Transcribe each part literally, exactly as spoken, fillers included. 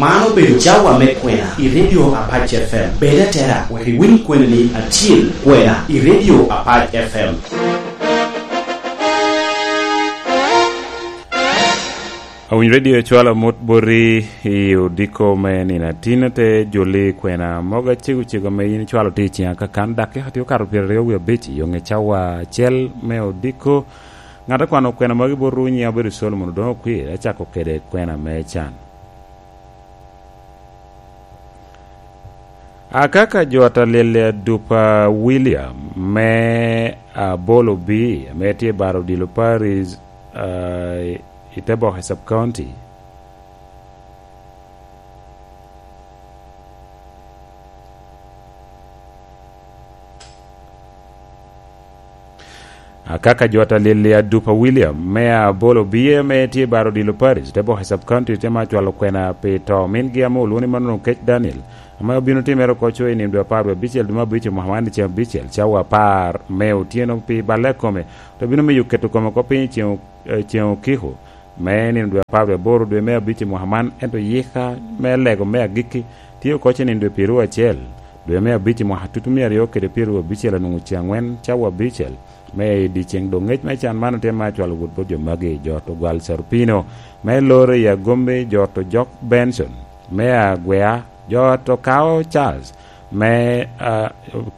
Man obedo cawa me kwena i Radio Apac F M. Bed atera wek iwiny kwenani acil, kwena i Radio Apac F M. Awiny Radio cwalo mot boti i odiko me nino atin, te joli kwena mogo acego cego ame yin icwalo tye i ciŋ akakan, dakika tye okato pyeraryo wie abic i yoŋe cawa acel me odiko. Ŋat akwano kwena magi botwu nyiŋe obedo Solomon Odoŋo Okwir, acako kede kwena me can. Akaka jo a Talil Adupa William me Abolo B, ame tye i Baro Odilo Parish, ah, i Teboke Sub County. Akaka jo a Talil Adupa William me Abolo B, ame tye i Baro Odilo Parish, Teboke Sub County, tye ma cwalo kwena pi to mingi ame olwoŋo ni Manon Okec Daniel, ame obino timere oko co i nino dwe apar wie abicel dwe me abicel mwaka man i ceŋ abicel, cawa apar me otyeno pi balle a kome, te bino miyo keto kome oko piny i ceŋ o-, eh, ceŋ okiko me nino dwe apar wie aboro dwe me abic i mwaka man, ento yika me lego me agikki tye oko ce nino dwe pyeraryo acel dwe me abic i mwaka tutu mia aryo kede pyeraryo abicel anwoŋo ceŋ angwen cawa abicel me i dyeceŋ. Doŋ ŋec me can man otye me acwalo wot bot jo magi, jo ot Ogwal Carupino me Loro i Agombi, jo ot Ojok Benson me Agwea, jo ot Okao Charles me, ah,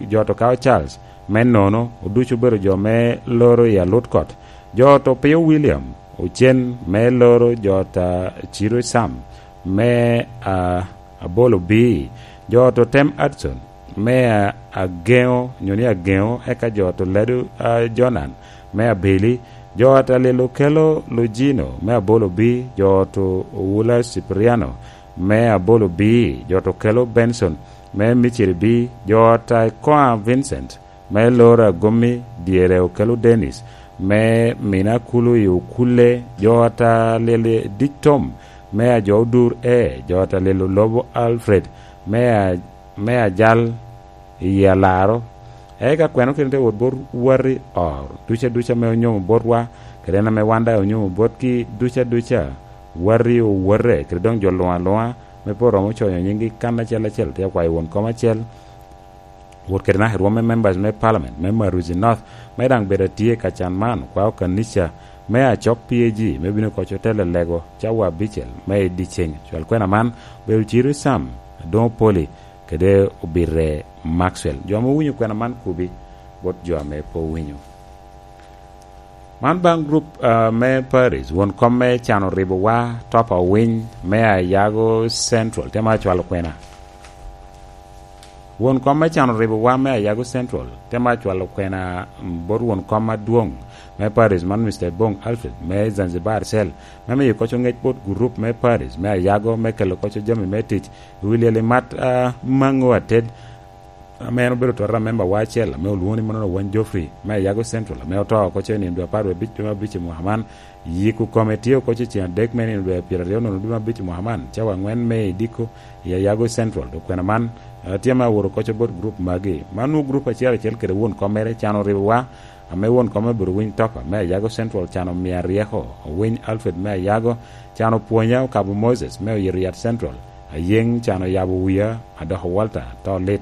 jo ot Okao Charles me Nono, oducu obedo jo me Loro i Alutkot, jo ot Opio William Ocen me Loro, jo ot, ah, Ciro Sam me, ah, Abolo B, jo ot Otem Adson me, ah, Ageŋo, nyo ni Ageŋo, eka jo ot Oladu, ah, Jonan me Abili, jo ot Alil Okelo Lujino me Abolo B, jo ot Owula Cipriano me Abolo B, jo ot Okelo Benson me Miciri B, jo ot Aikoa Vincent me Loro Agomi, dyere Okelo Dennis me Mina Kulu i Okulle, jo ot Alil Dic Tom me Ajo Odur E, jo ot Alil Olobo Alfred me a-, me Ajal i Alaro. Eka kweno kede te wot bot wati or duca duca ame onyomo botwa, kede en ame wan daŋ onyomo botgi duca duca, wati owote, kede doŋ jo luŋ aluŋa, me pe oromo coyo nyiŋgi kan acel acel, tye akwayo won kom acel, wot kede naka i rwom me members me parliament me Maruzi North, me daŋ bedo atye ka can man, kwao kanica me Acok P A G, me bino koc otelo lego cawa abicel me i dyeceŋ. Cwal kwena man obedo Ciro Sam, Adoŋo Poli, kede Obite Maxwell. Jo ame owinyo kwena man kubi bot jo ame pe owinyo. Man baŋ grup, ah, me Paris, won kom me can oribowa, Top Awiny me Ayago Central, te ma cwalo kwena. Won kom me can oribowa me Ayago Central, te ma cwalo kwena, mm, bot won kom adwoŋ me Paris, man Mister Bong Alfred me Zanzibar Cell, me miyo koco ŋec bot gurup me Paris me Ayago me kelo koco jami me tic i wi lyel i mat, ah, maŋo ated, ame en obedo tota membawa acel, ame olwoŋo ni Manono Wan Geoffrey, me Ayago Central, ame oto oko ce nino dwe apar wie abic dwe me abic i mwaka man. Yiko kome tye oko ce ceŋ adek me nino dwe pyeraryo nono dwe me abic i mwaka man, cawa aŋwen me i diko i Ayago Central. Dok kwena man, eh, tye ame awoto oko ce bot gurup magi. Man nwoŋo gurup acel acel kede won kom mere can oribowa, ame won kom me Burowiny Topa, me Ayago Central can Omia Ryeko, Owiny Alfred me Ayago, can Opwonya Okabo Moses, me Oyito Yat Central, Ayeŋ can Oyabo Wiya, Adoko Walter, to lit,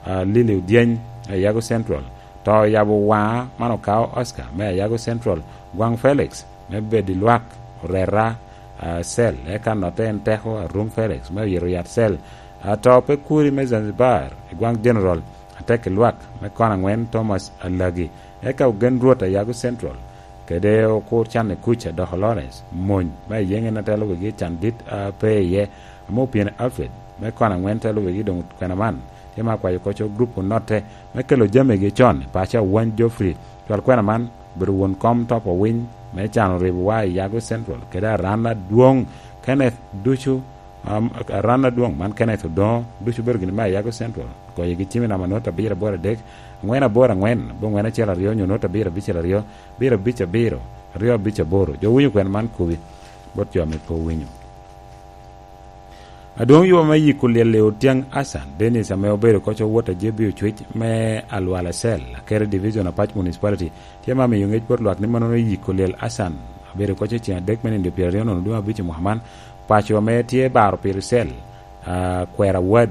ah, Lili Odyeny, Ayago Central, to Oyabo Waŋa, man Okao Oscar, me Ayago Central, Gwaŋ Felix, me Bedi Lwak, Oreta, ah, Cell, eka notte en Teko Arum Felix, me Oyito Yat Cell, ah, to pe kuri me Zanzibar, i Gwaŋ General, Atek i Lwak, me Kono Aŋwen, Thomas Alagi, eka Ogen Rwot Ayago Central, kede Okur Can i Kuc Adoko Lawrence, Mony, me Ayeŋ en atelo wegi can dit, ah, pe iye, ame Opyeni Alfred, me Kono Aŋwen telo wegi doŋ kwena man, tye ma akwayo koco grup onotte, me kelo jamigi con i paco Awany Geoffrey, cwal kwena man, obedo won kom Top Owiny, me can oribowa i Ayago Central, kede aran adwoŋ Kenneth ducu, Am, aran adwoŋ man Kenneth Odoŋo, ducu bedo gini me Ayago Central, goyogi cim i namba note abiro aboro adek, aŋwen aboro aŋwen, aboŋwen acel aryo, nyo note abiro abicel aryo, abiro abic abiro, aryo abic aboro. Jo winyo kwena man kubi, bot jo ame pe owinyo. Adwoŋ yuba me yiko lyel i Otyang Asan, Dennis ame obedo koc owot a J B Ocwec me Alwala Cell, Akere Division, Apac Municipality, tye ma miyo ŋec bot lwak ni manono yiko lyel Asan, abedo koc i ceŋ adek me nino pyeraryo nono dwe abic i mwaka man, paco ame tye baro piri cell, Kwera Ward,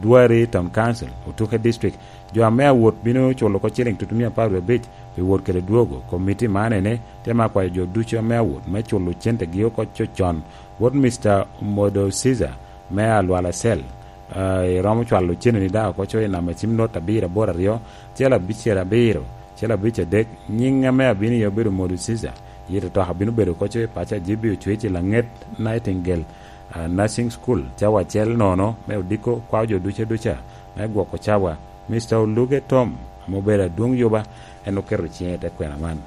Dwari Town Council, Otuke District. Jo ame awot bino culo oko ciling tutumia apar wie abic pi wot kede dwogo. Komiti man ene tye ma akwayo jo ducu ame awot me culo cente gi oko cocon. Wot Mister Modo Caesar me Alwala Cell, iromo cwalo cene ni daŋ oko coyo namba cim not abiro aboro aryo, cel abicel abiro, cel abic adek. Nyiŋ ame abino iye obedo Modo Caesar. Yito toka bino bedo oko coyo i paco a J B Ocwec i laŋet Nightingale Nursing School, cawa acel nono me odiko. Kwao jo duca duca me gwoko cawa. Mister Oluge Tom, ame obedo adwoŋ yuba, en oketo ciŋe i te kwena man.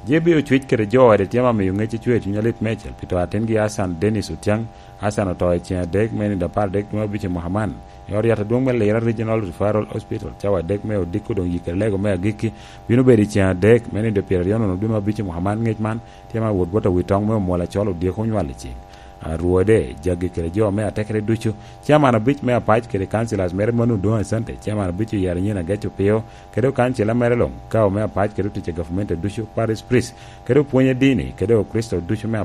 J B Ocwec kede jo ode tye ma miyo ŋec icwe cuny alit meicel pi to atingi Hassan Dennis Otiaŋ. Hassan oto i ceŋ adek me nindo apar adek dwe abic i mwaka man i ot yat adwoŋ me Lira Regional Referral Hospital. Cawa adek me odiko doŋ yikere lego me agikki bino bedo i ceŋ adek me nindo pyeraryo nono dwe me abic i mwaka man. Ŋec man tye ma wot bot awi toŋ me omwol acol odyeko onywal i ceŋ. Rwode, jagi kede jo me atekere ducu, chairman abic me apac kede councillors mere mano Odoŋo Asante, chairman abic oyero nyin Agec Opio, kede okancila mere luŋ, kao me apac kede otic a gavumenti ducu, Paris Priest, kede opwony a dini, kede Okricito ducu me